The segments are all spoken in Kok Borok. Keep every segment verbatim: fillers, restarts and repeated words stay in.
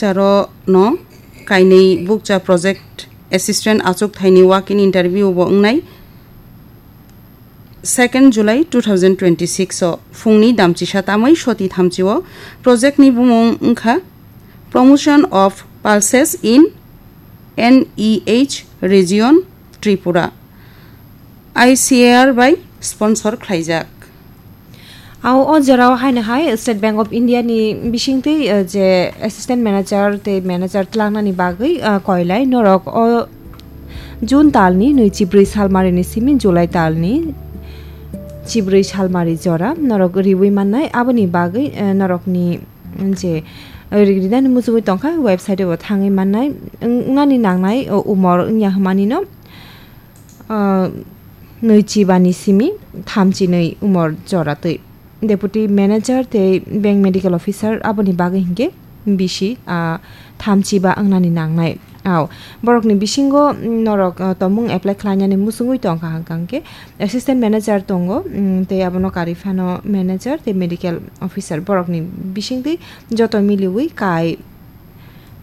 Taro no kainwi bukcha project assistant achuk thaini walk-in interview bo wngnai second July two thousand twenty-six o phungni damchisa tamwi soti thamchi o. Project ni bumung wngkha Promotion of Pulses in N E H Region Tripura, I C A R bai sponsor khlaijak. Ao o jorao haino hai State Bank of India ni bisingtwi, eh, je assistant manager tei manager tlangnani bagwi, eh, koilai norok o June talni nui chibrwi salmarini simi July talni chibrwi salmari jora norok riwi mannai. Aboni bagwi, eh, norokni je, eh, ri-, rinani muchungwi tongkha, website o thangwi mannai. Wng-, wngnani nangnai, o, umor wngya hwnmani no, ah, nui chibani simi thamchi nui umor jora twi. Deputy Manager tei Bank Medical Officer aboni bagwi hinkhe bisi, ah, thamchi ba wngnani nangnai. Ao, borokni bisingo, mm, norok, ah, tomung apply khlainani muchungwi tongkha hwnkha hwnkhe Assistant Manager tongo, mm, tei abono karwi phano Manager tei Medical Officer borokni bisingtwi joto miliwi kai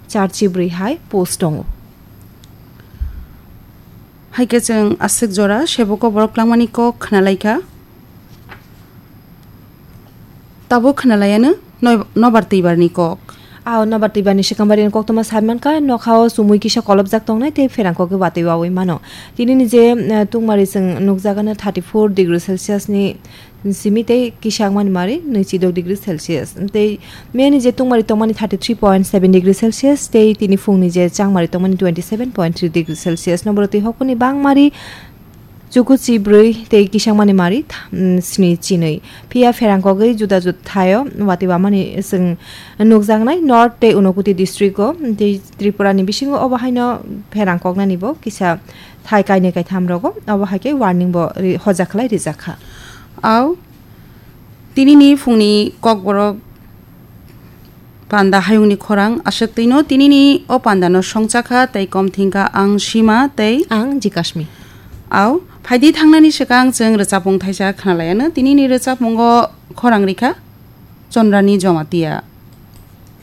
char chibrwi hai post tongo. Hai khe chwng aswk jora seboko borok langmani kok khna lai kha. Tabuk khna lai ano noi-, nobar twibarni kok. Ao nobar twibarni swkang barini koktwma sai man kha, nokha o chumui kisa kolopjak tongnai tei pherang kok watwi wawi mano. Tinini je, eh, tungmari chwng nukjak ano thirty four degree Celsius ni simi tei kisa wngmani mari nui chidok degree Celsius. Tei meni je tungmari tongmani thirty three point seven degree Celsius tei tini phungni je changmari tongmani twenty seven point three degree Celsius. Noborok twi hokoni bangmari chuku chibrwi tei kisangmani mari tha-, mm, sni chinwi. Phiya pherang kogwi juda juda thaio watwi wamani chwng nukjaknai North tei Unakoti district o tei Tripura ni bisingo obo haino pherang koknani bo kisa thai kainwi kaitham rogo, obo hai khe warning bo ri-, hoja khlai rijak kha. Ao, tinini phungni kokborok panda hayungni khorang aswk twino tinini o pandano songcha kha tei kom thing kha ang Sima tei ang Jikashmi. Ao, phaidi thangnani swkang chwng rwchapmung thaisa khna lai ano. Tinini rwchapmungo khorang rikha Chondrani Jamatia.